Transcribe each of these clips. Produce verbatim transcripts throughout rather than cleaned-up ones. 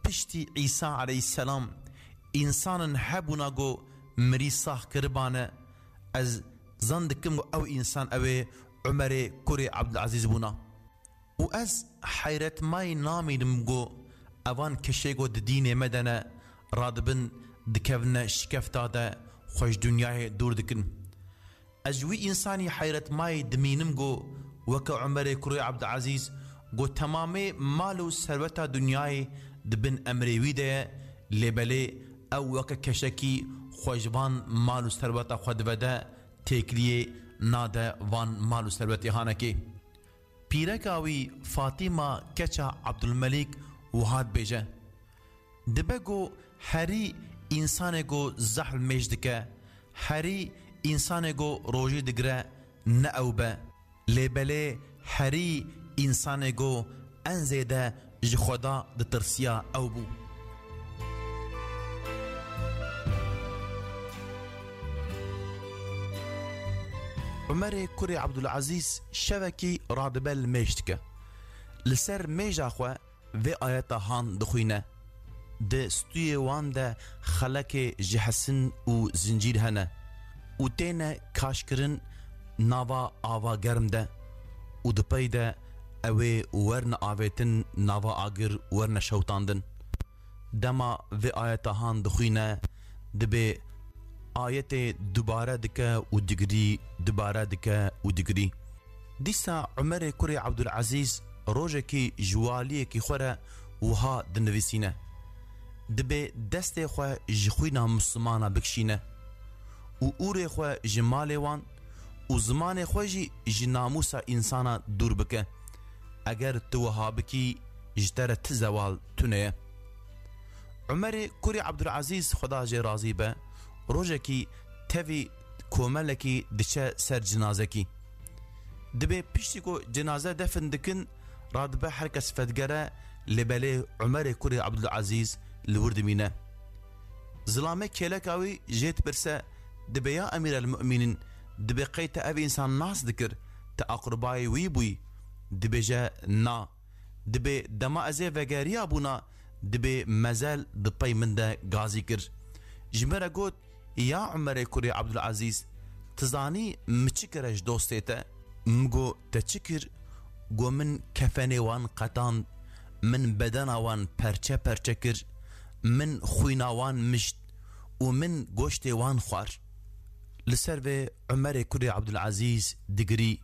Piştî Îsa aleyhisselam însanin hebûna ku mirî sax kiribane, ez zan dikim ku ew însan ew ê Umerê kurê Abdulazîz bûna. Û ez heyretmayî namînim ku evan keşê ku di dînê me de ne, radibin dikevine şikefta de xwe ji dinyayê dûr dikin. Ez ji wî însanî heyretmayî dimînim ku weke Umerê kurê Abdulazîz ku temamê mal û serweta dinyayê di bin emrê wî de ye, lê belê ew weke keşekî xwe ji van mal û serweta xwe divede, têkiliyê nade van mal û serwetê hanekê. Pîreka wî Fatîma keça Abdulmelîk wiha dibêje, dibe ku herî însanê ku zehl mêj dike, herî însanê ku rojî digire ne ew be, lê belê herî însanê ku en zêde ji Xweda ditirsiya ew bû. Umerê kurê Abdulazîz şevekî radibe li mêj dike. Li ser mêja xwe vê ayeta han dixwîne. Di stûyê wan de xelekê ji hesin û zincîr hene û têne kaşkirin nava ava germ de û di pey de ew ê werne avêtin nava agir werne şewtandin. Dema vê ayeta han dixwîne, dibê ayetê dubare dike û digirî, dubare dike û digirî. Dîsa Umerê kurê Abdulazîz rojekî ji waliyekî xwe re wiha dinivîsîne, dibê destê xwe ji xwîna Mislimana bikişîne û ûrê xwe ji malê wan û zimanê xwe jî ji namûsa însana dûr bike. Eger tu wiha bikî, ji te re ti zewal tune ye. Umerê kurê Abdulazîz, Xweda jê razî be, rojekî tevî komelekî diçe ser cinazekî. Dibê piştî ku cenaze defin dikin, radibe her kes vedigere, lê belê Umerê kurê Abdulazîz li wir dimîne. Zilamê kêleka wî jê dipirse, dibê ya Emîr el Mu'mînîn, dibê qey te ev însan nas dikir, te aqribayê wî bûyî? Dibêje na. Dibê dema ez ê vegeriya bûna, dibê mezel di pey min de gazî kir. Ji min re got, ya Umerê kurê Abdulazîz, tu zanî min çi kire ji dostê te? Min got, te çi kir? Got, min kefenê wan qetand, min bedena wan perçe perçe kir, min xwîna wan mişt û min goştê wan xwar. Li ser vê Umerê kurê Abdulazîz digirî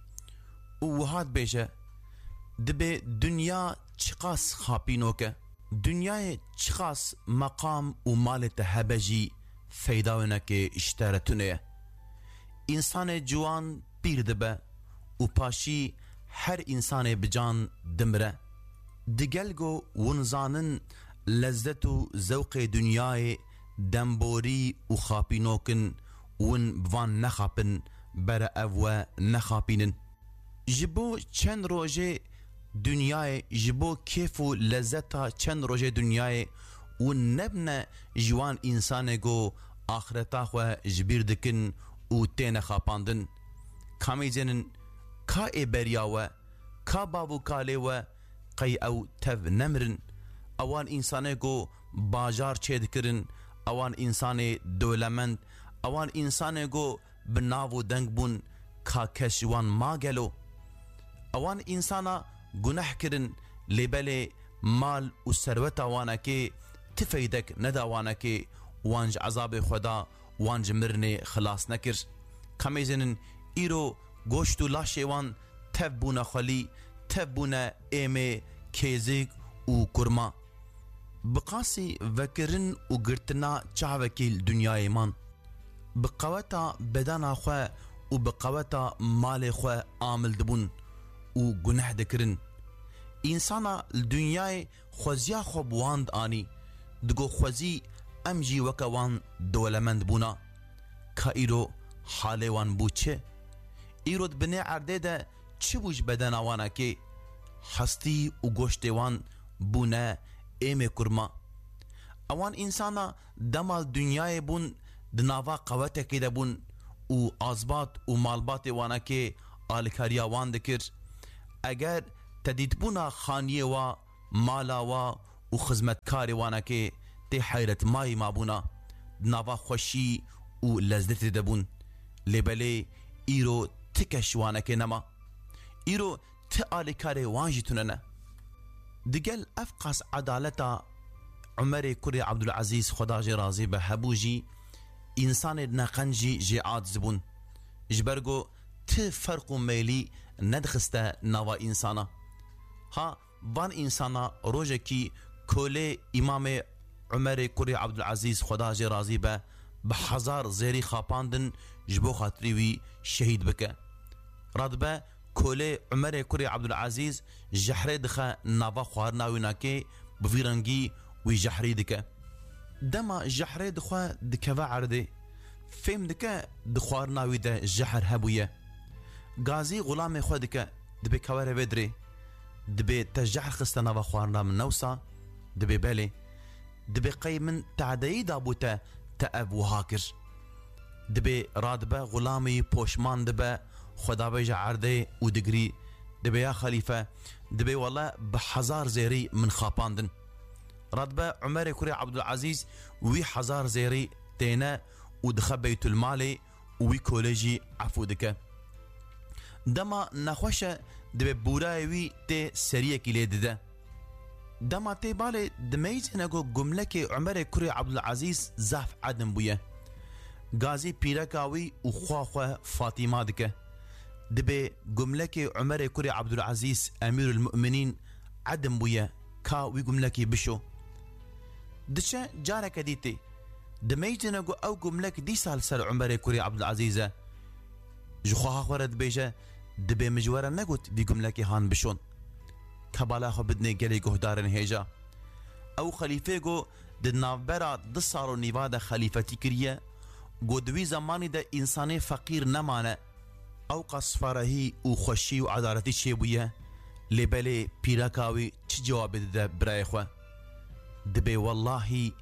û wiha dibêje, dibê dinya çiqas xapînok e. Dinyayê çiqas meqam û malê te hebe jî feyda winekê ji te re tune ye. Însanê ciwan pîr dibe û paşî her însanê bi can dimire. Digel ku hûn zanin lezzet û zewqê dinyayê demborî û xapînok in, hûn bi van nexapin, bere ev we nexapînin. Ji bo çend rojê dinyayê, ji bo kêf û lezzeta çend rojê dinyayê û nebne ji wan însanê ku axireta xwe ji bîr dikin û têne xapandin. Kamî zênin ka ê beriya we, ka bav û kalê we, qey ew tev nemirin? Ewan însanê ku bajar çêdikirin, ewan însanê dewlemend, ewan însanê ku bi nav û deng bûn, ka kes ji wan ma gelo? Ewan însana guneh kirin, lê belê mal û serweta wanekê ti feydek neda wanekê, wan ji ezabê Xweda, wan ji mirinê xilas nekir. Ka mêzênin îro goşt û laşê wan tev bûne xwelî, tev bûne êmê, kêzik û kurma. Bi qasî vekirin û girtina çavekî li dinyayê man. Bi qeweta bedena xwe û bi qeweta malê xwe amil dibûn û guneh dikirin. Însana li dinyayê xweziya xwe bi wan dianî, digot xwezî em jî weke wan dewlemend bûna. Ka îro halê wan bû çi? Îro di binê erdê de çi bû ji bedena wanekê? Hestî û goştê wan bûne êmê kurma. Ewan însana dema li dinyayê bûn, di nava qewetekê de bûn û azbat û malbatê wanekê alikariya wan dikir. Eger te dîtbûna xaniyê wa, mala wa û xizmetkarê wanekê tê heyretmayî mabûna, di nava xweşî û lezzetê de bûn. Lê belê îro ti keş wanekê nema. Îro ti alîkarê wan jî tune ne. Digel ev qas edaleta Umerê kurê Abdulazîz, Xweda jê razî be, hebû jî, însanê neqenc jî jê aciz bûn. Ji ber ku ti ferq û meylî nedixiste nava însana. Ha, van însana rojekî kolê Îmamê Umerê kurê Abdulazîz, Xweda jê razî be, bi hezar zêrî xapandin ji bo xatirî wî şehîd bike. Radibe kolê Umerê kurê Abdulazîz jehrê dixe nava xwarina wî nakê, bi vî rengî wî jehrî dike. Dema jehrê dixwe dikeve erdê, fêm dike di xwarina wî de jehr hebûye. Gazî xulamê xwe dike, dibê ka were vê dirê. Dibê te jehr xiste nava xwarina min, ne wisa? Dibê belê. Dibê qey min tadeyî dabû te, te ev wiha kir? Dibê radibe xulamê wî poşman dibe, xwe davêje erdê û digirî. Dibê ya xelîfe, dibê wele bi hezar zêrî min xapandin. Radibe Umerê kurê Abdulazîz wî hezar zêrî têne û dixe Beytulmalê û wî kolê jî efû dike. Dema nexweş e, dibê bûrayê wî tê seriyekî lê dide. Dema tê balê, dimeyzêne ku gumlekê Umerê kurê Abdulazîz zaf edim bûye. Gazî pîreka wî û xwa xwe Fatîma dike. Dibê gumlekê Umerê kurê Abdulazîz, Emîrul Mu'minîn, edim bûye, ka wî gumlekî bişo. Diçe careke dî tê. Dimeyzêne ku ew gumlek dîsa li ser Umerê kurê Abdulazîz e. Ji xweha xwe re dibêje, dibê min ji we re negot vî gumlekê han bişon. Ka bala xwe bidinê gelê guhdarên hêja. Ew xelîfê ku di navbera du sal û nîva de xelîfetî kiriye, ku di wî zemanî de însanê feqîr nemane. Ew qas farehî û xweşî û edaletî çêbûye, lê belê pîreka wî çi cewabê dide birayê xwe? Dibê wellahî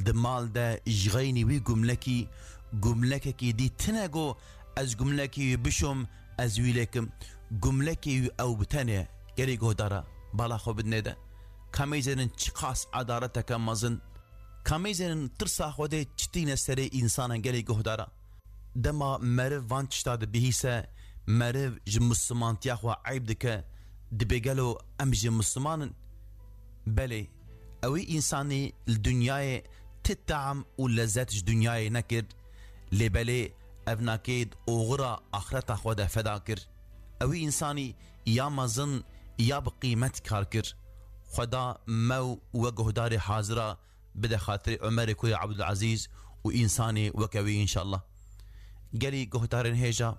di mal de ji xeynî wî gumlekî, gumlekekî dî tine ku ez gumlekî wî bişom, ez wî lêkim. Gumlekê wî ew bi tenê, gelê guhdara, bala xwe bidinê de. Ka mêzênin çiqas edaleteke mezin. Ka mêzênin tirsa Xwedê çi tîne serê însanan, gelê guhdara. Dema meriv van tişta dibihîse, meriv ji mislimantiya xwe eyb dike, dibê gelo em jî misliman in? Belê, ewî însanî li dinyayê ti tam û lezet ji dinyayê nekir, lê belê ev nakê di oxira axireta xwe de feda kir. Ewî însanî ya mezin ya bi qîmet kar kir. Xweda me û we guhdarê hazira bide xatirê Umerê kurê Abdulazîz û însanê weke wî înşallah. Gelî guhdarên hêja,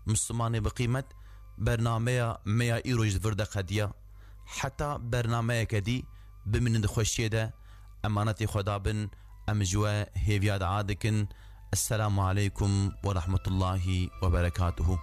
Mislimanê bi qîmet, bernameya me ya îro ji vir de qediya. Heta bernameyeke dî, bimînin di xweşiyê de, emanetê Xweda bin, em ji we hêviya dua dikin. Esselamu aleykum ve rahmetullahi ve berekatuhu.